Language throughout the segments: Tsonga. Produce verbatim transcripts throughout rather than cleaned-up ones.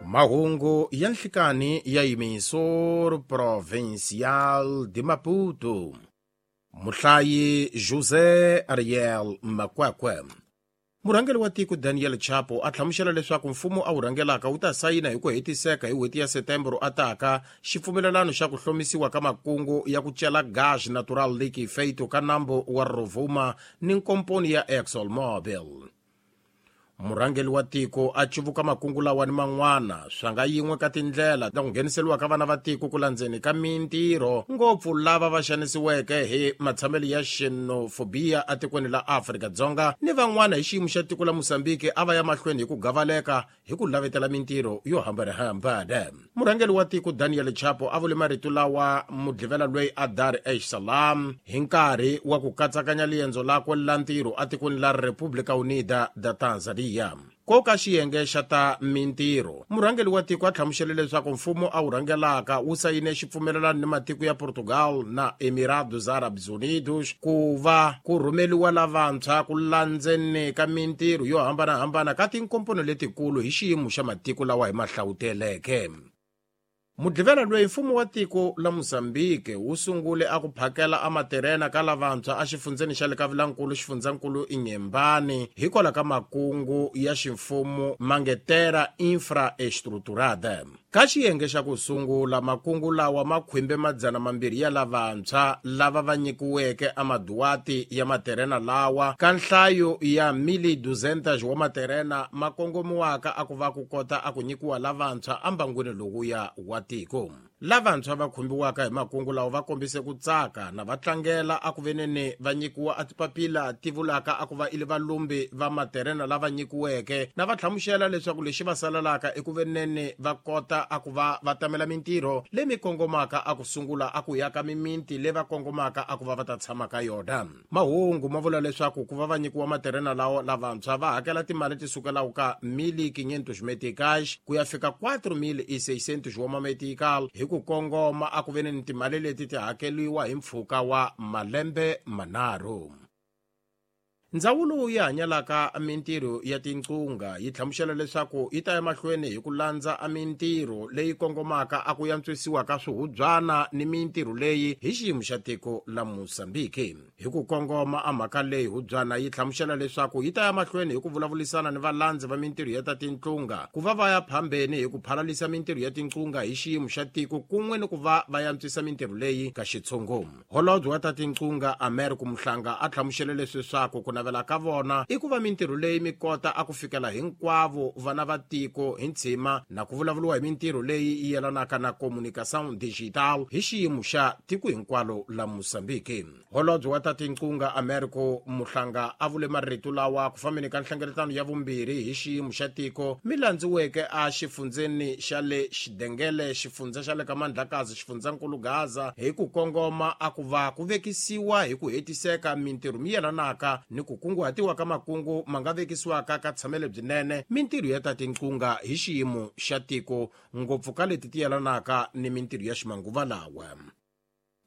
Mahungu ya nhlikani ya Emissor Provincial de Maputo. Muhlayi José Ariel Makwakwe. Murhangeri wa tiko Daniel Chapo a hlamusela leswaku mfumo a wu rhangelaka wu ta sayina hi ku hetiseka hi n'hweti ya September ataka xipfumelelano xa ku hlomisiwa ka makungu ya ku cela gaz natural liquefeito ka nambu wa Rovuma ni nkomponi ya ExxonMobil. Murhangeri wa tiko a cuvuka makungu lawa ni man'wana swa nga yin'we ka tindlela ta ku ngheniseriwa ka vana va tiko ku landzeni ka mintirho ngopfu lava va xanisiweke hi matshamelo ya xenophobia etikweni la Afrika-Dzonga ni van'wana hi xiyimo xa tiko la Mozambique a va ya mahlweni hi ku gavaleka hi ku lavetela mintirho yo hambanahambana. Murhangeri wa tiko Daniel Chapo a vule marito lawa mudlivela loyi a Dar es Salaam hi nkarhi wa ku katsakanya liendzo lakwe la ntirho etikweni la República Unida da Tanzania. Ko ka xiyenge xa ta mintirho, murhangeri wa tiko a hlamusele leswaku mfumo a wu rhangelaka wu sayine xipfumelelano ni matiko ya Portugal na Emirados Árabes Unidos ku va ku rhumeliwa lavantshwa ku landzeni ka mintirho yo hambanahambana ka tinkomponi letikulu hi xiyimo xa matiko lawa hi ma hlawuteleke. Mudlivela loyi mfumo wa tiko la Mozambique wu sungule a ku phakela a materena ka lavantshwa a xifundzeni xa le ka Vilankulu xifundzankulu Inhembane hikwalaho ka makungu ya ximfumo Mangetera Infraestruturada. Ka xiyenge xa ku sungula makungu lawa ma khwimbe madzana mambirhi ya lavantshwa lava va nyikiweke a maduati ya materena lawa ka nhlayo ya mili duzentas wa materena ma kongomiwaka a ku va ku kota a ku nyikiwa lavantshwa embangwini lowuya wa tiko. Lavantshwa va khumbiwaka hi makungu lawa va kombise ku tsaka na va tlangela a ku veneni va nyikiwa a tipapila ti vulaka a ku va ili valumbi va materena lava nyikiweke na va hlamusela leswaku lexi va salelaka eku veneni va kota a ku va va tamela mintirho leyi mi kongomaka a ku sungula a ku yaka miminti leyi va kongomaka a ku va va ta tshama ka yona. Mahungu ma vula leswaku ku va va nyikiwa materena lawa lavantshwa va hakela timali ti sukelaka ka mil quinhentos meticais ku ya fika quatro mil e seiscentos wa mametical hi ku kongoma a ku veni ni timali leti ti hakeliwa hi mpfhuka wa malembe manharhu. Ndzawulo yi hanyalaka mintirho ya tinqunga yi hlamusela leswaku yi ta ya mahlweni hi ku landza a mintirho leyi kongomaka a ku yantswisiwa ka swihubyana ni mintirho leyi hi xiyimo xa tiko la Mozambique. Hi ku kongoma a mhaka leyi hubyana yi hlamusela leswaku yi ta ya mahlweni hi ku vulavurisana ni valandzi va mintirho ya ta tinqunga ku va va ya phambeni hi ku phalalisa mintirho ya tinqunga hi xiyimo xa tiko kun'we ni ku va va yantswisa mintirho leyi ka xitshungu. Holobye wa ta tinqunga Americo Mhlanga a hlamusele leswaku ku navela ka vona i ku va mintirho leyi mi kota a ku fikela hinkwavo vana va tiko hi ntshima na ku vulavuriwa hi mintirho leyi yi yelanaka na communication digital hi xiyimo xa tiko hinkwalo la Mozambique. Holobye wa ta tinqunga Americo Mhlanga a vule marito lawa ku fambeni ka nhlengeletano ya vumbirhi hi xiyimo xa tiko mi landziweke a xifundzeni xa le Xidengele, xifundza xa le ka Mandlakazi, xifundzankulu Gaza hi ku kongoma a ku va ku vekisiwa hi ku hetiseka mintirho mi yelanaka ni ku kunguhatiwa ka makungu ma nga vekisiwaka ka tshamele byinene mintirho ya ta tinqunga hi xiyimo xa tiko ngopfu ka leti ti yelanaka ni mintirho ya ximanguva lawa.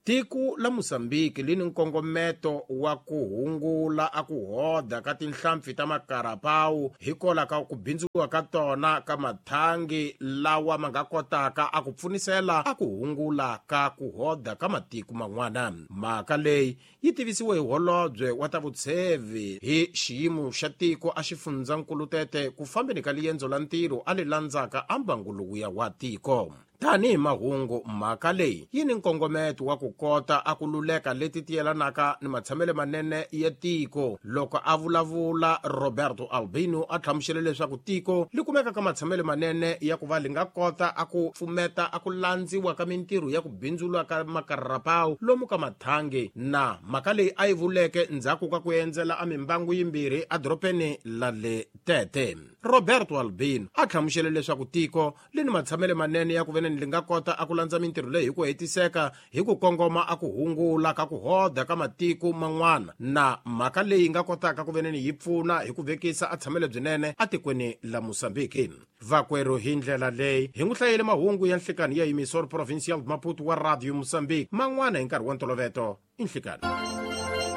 Tiko la Mozambique li ni nkongometo wa ku hungula a ku hoda ka tinhlampfi ta makarapawu hikwalaho ka ku bindziwa ka tona ka mathangi lawa ma nga kotaka a ku pfunisela a ku hungula ka ku hoda ka matiko man'wana. Mhaka leyi yi tivisiwe hi holobye wa ta vutshevi hi xiyimo xa tiko a xifundzankulu Tete ku fambeni ka liendzo la ntirho a li landzaka a mbangu lowuya wa tiko. Tanihi mahungu mhaka leyi yi ni nkongometo wa ku kota a ku luleka leti ti yelanaka ni matshamelo manene ya tiko. Loko a vulavula Roberto Albino a hlamusele leswaku tiko li kumeka ka matshamelo manene ya ku va li nga kota a ku pfumeta a ku landziwa ka mintirho ya ku bindzula ka makararapawu lomu ka mathangi na mhaka leyi a yi vuleke ndzhaku ka ku endzela a mimbangu yimbirhi edorobeni la le Tete. Roberto Albino a hlamusele leswaku tiko li ni matshamelo manene ya ku vene li nga kota a ku landza mintirho leyi hi ku hetiseka hi ku kongoma a ku hungula ka ku hoda ka matiko man'wana na mhaka leyi nga kotaka ku veneni yi pfuna hi ku vekisa a tshamelo byinene etikweni la Mozambique. Vakwerhu hi ndlela leyi hi n'wi hlayele mahungu ya nhlikani ya Emissor Provincial Maputo wa Radio Mozambique man'wana hi nkarhi wa ntoloveto i nhlikani.